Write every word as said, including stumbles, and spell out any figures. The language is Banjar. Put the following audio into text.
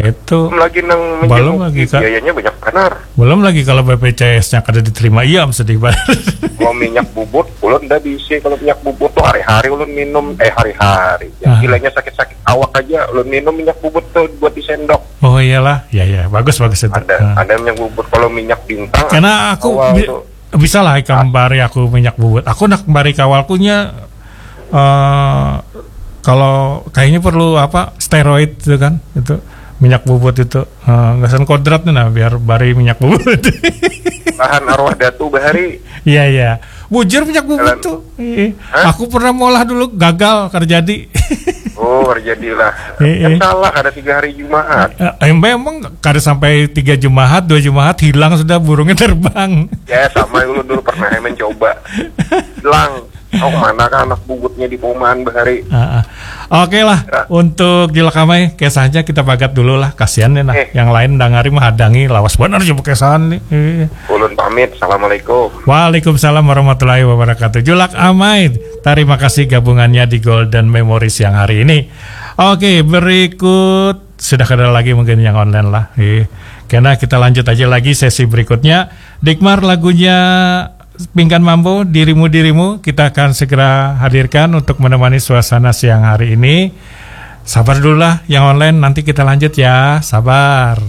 Itu Belum lagi nang Belum menjenguk lagi, di Kak. Biayanya banyak banar. Belum lagi kalau B P J S-nya kada diterima, iya sedih banget. Kalau minyak bubut, ulun dah bisi kalau minyak bubut tuh hari-hari ulun minum, eh hari-hari. Ya, Ah. Gilanya sakit-sakit awak aja, ulun minum minyak bubut tuh buat di sendok. Oh iyalah, ya ya, bagus bagus itu. Ada Ah. ada minyak bubut. Kalau minyak bintang, Karena aku awal bi- tuh. Bisa lah ikam bari aku minyak bubut. Aku nak bari kawalkunya eh kalau kayaknya perlu apa, steroid itu kan, itu minyak bubut itu. Eh, gasan kodrat nih nah, biar bari minyak bubut. Bahan arwah datu bahari. Iya iya. Bujur minyak bubut Jalan. Tuh. Iya. Hah? Aku pernah molah dulu, gagal, kada jadi. Oh, terjadilah. Eh, eh. Kan salah, ada tiga hari Jumaat. Eh, emang kada sampai tiga Jumaat, dua Jumaat hilang sudah burungnya terbang. Ya sama dulu dulu pernah mencoba. Hilang. Oh, mana kan anak bubutnya di poman bahari. Ah, ah. Oke lah, Ya. Untuk Julak Amai, kisahnya kita bagat dulu lah, kasihan nih nah. Eh. Yang lain dangari menghadangi, lawas benar coba kesan nih. Eh. Ulun pamit. Assalamualaikum. Waalaikumsalam warahmatullahi wabarakatuh. Julak Amai, terima kasih gabungannya di Golden Memories yang hari ini. Oke, berikut sudah kada lagi mungkin yang online lah. Eh. Karena kita lanjut aja lagi sesi berikutnya. Dikmar lagunya Pingkan Mambo, Dirimu Dirimu, kita akan segera hadirkan untuk menemani suasana siang hari ini. Sabar dulu lah yang online, nanti kita lanjut ya. Sabar.